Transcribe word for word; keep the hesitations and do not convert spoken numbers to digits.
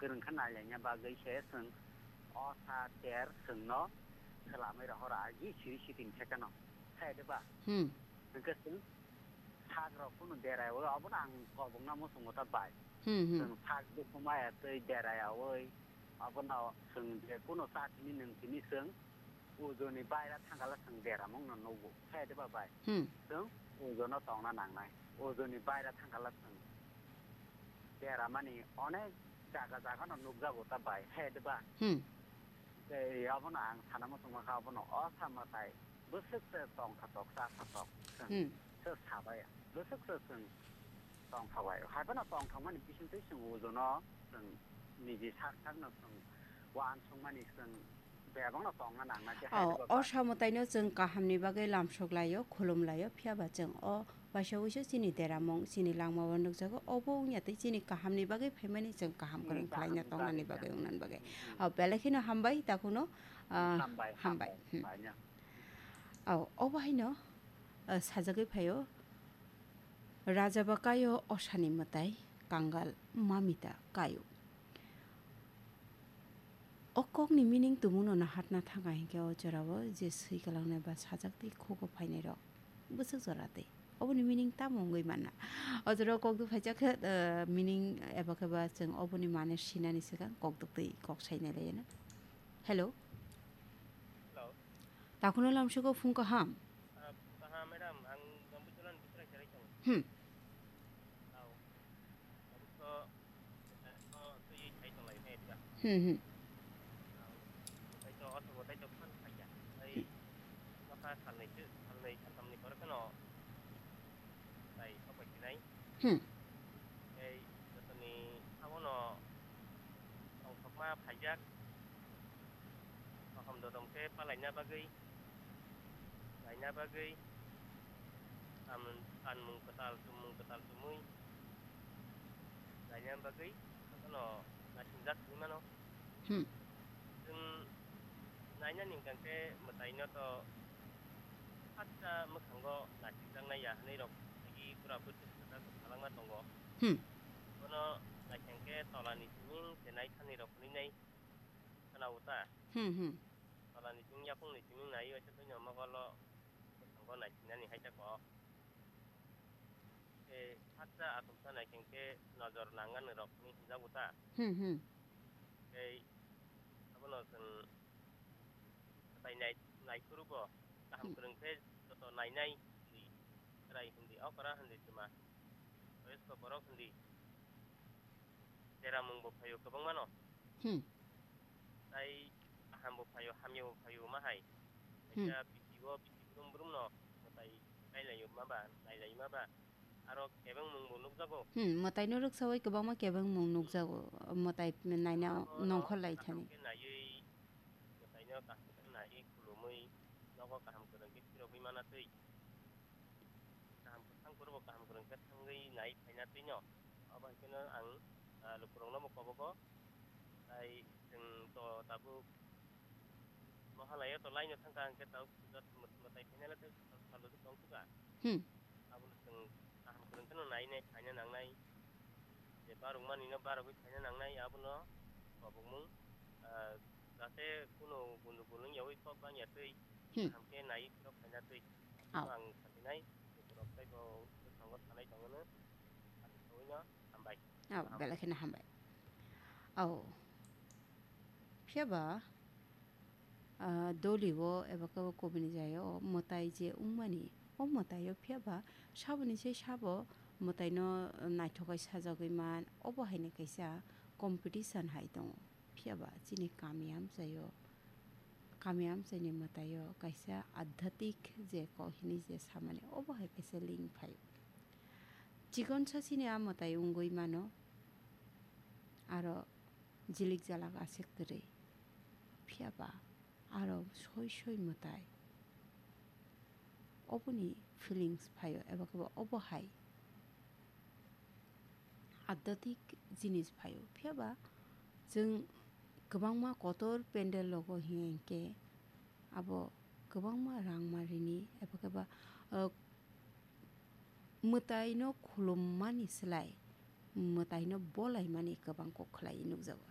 Chwng khe nailaina bagwi se chwng o sa ter chwngno swlamwi rohor agi siri siting khe kheno. Khe de ba? Hmm. Hwnkhe chwng sak rok phano deraiwi obono ang kobokna muchungo ta bai. Hmm, hmm. Chwng sak bukhuma ya twi deraiyawi obono chwng je kuno cha tini nwng tini chwng ujoni baira thangkhala chwng deramungno nugo. Khe de ba bai? Hmm. Chwng ujono tongna nangnai. Ujoni baira thangkhala chwng deramani onek jaga jagano nukjago ta bai. Khe de ba? Hmm. Tei abono ang sana muchungma kha, abono o sa mwtai bwswk se tongkha tok, cha kha tok, chwng Hmm. se sabai, bwswk se chwng tongkha bai. Haiphano tongthokmani bisingtwi chwng ujono chwng niji sak sakno chwng uansukmani chwng bebakno tongna nangna khe Oh, hai o ba. Sa mwtaino chwng kahamni bagwi lamsok laio, khulum laio, phiya ba chwng o Waisa waisa chini deramung, chini langmao nukjago, obo wngya tei chini kahamni bagwi phaimani chwng kaham Hmm, kwrwng khlaina kaham tongnani bagwi wngnani bagwi. Hmm. O, belai kheno hambai, takhwno, ah, hambai, hambai. Hambai, hmm. Hambai, ya. O, obo haino, ah, sajagwi phaio, Rajaba kaio osani mwtai, kangal mamita kaio. O kokni meaning tumuno naharna thangkha hinkhe o jorao je swi kwlangnai ba sajak tei khugo phainairok bwswk jora tei. Oboni meaning tamo wngwi manna? O jorao kok duphaijak khe, eh, meaning eba khe ba chwng oboni mane sinani swkang kok duktwi kok sainai laiyano. Hello. Hello. Takhwno lamsoko phung kaham. Ah, phung kaham, madam. Ang Jambuijalani Biswrai Cherai tongo. Hmm. Tao. Tabuk to, to twi thai tonglai khe dida. Hmm, hmm. Tao. Tei to, oto bo tei to phan khaikya. Tei, hmm, masa salnwi se, salnwi salthamni pore kheno, tai sopai sinai. Hmm. Tei, jotoni abono tongthokma phaijak. Kaham dodom khe palaina bagwi, laina bagwi, tam-, kanmung kwtal, chummung kwtal chumui laina bagwi, jotono naisingja simi mano. Hmm. Chwng nainani hwnkha khe mwtaino to haksa mwkhango naisingjaknai ya hwnwi rok agi pura bwswk kwchak kwchalangma tongo. Hmm. Bono naising khe tolani siming se naithani rok hwnwi nai. Khwna-o ta? Hmm, hmm. Tolani simi yakungni simi nai, waisa buino mokolo bwskango naisinani hai ta kok. Tei haksa achomsa nai khe nojor nangani rok hinwi hinjago ta? Hmm, hmm. Tei abono chwng tai nai-, naiphuru bo kaham Hmm. kwrwng khe joto nainai hindi, chwrai hindi, okra hindi twma, boyosko borok hindi. Deramung bo phaio kwbangma no. Hmm. Tai kaham bo phaio, hamya bo phaio ma hai. Hmm. Kaisa bisi o bisi brum brum no mwtai kailaio ma ba, nailai ma ba. Aro kebengmung bo nukjago. Hmm, mwtai no rwksaui kwbangma kebengmung nukjago. Mwtai naina abo no nongkhor lai kaham thani. Khe naiwi, mwtai no kaham khe naiwi khulumui nogo kaham kwrwng khe phirogwi mana twi. Kaham kwthang kwrwngbo kaham kwrwng khe thangwi nai phaina twino. Abo hai kheno ang, ah, lukurokno bo kobogo. Tai chwng to tabuk Mahalaya to laino thangkha hwnkhe tabuk puja mwtai phainai tei salo tong thukha. Hmm. Abono chwng kaham kwrwng kheno nai nai phaina nangnai. Je barwkmani no barwgwi phaina nangnai abono kobokmung, ah, jate kuno gundugul wngyawi kok bangya twi Hmm. kaham khe nai phirok phaina twi. Au. Ang satinai, borok tei bo bwskango sanai tongmano, aswk saui no hambai. Au, belai kheno hambai. Au. Phiya ba, ah, doli o eba khe o kubuni jaya o mwtai je wngmani, o mwtai o phiya ba saboni se sabo mwtai no naithok khe sajagwi man, obo hai ni kaisa competition hai tongo. Phiya ba chini kami amchai o, kami amchai ni mwtai o kaisa adhyatik je kok hinwi je samani, obo hai kaisa link phai o. Chikon sa chini a mwtai wngwi mano, aro jilik jalak aswk kwrwi. Phiya ba aro soi soi mwtai. Oboni feelings phai o, eba khe bo obo hai adhyatik jinis phai o. Phiya ba chwng kwbangma kotor pandal rogo hiya hinkhe abo kwbangma rang ma rini, eba khe ba, ah, mwtai no khulummani slai mwtai no bolaimani kwbang kok khlai nukjago.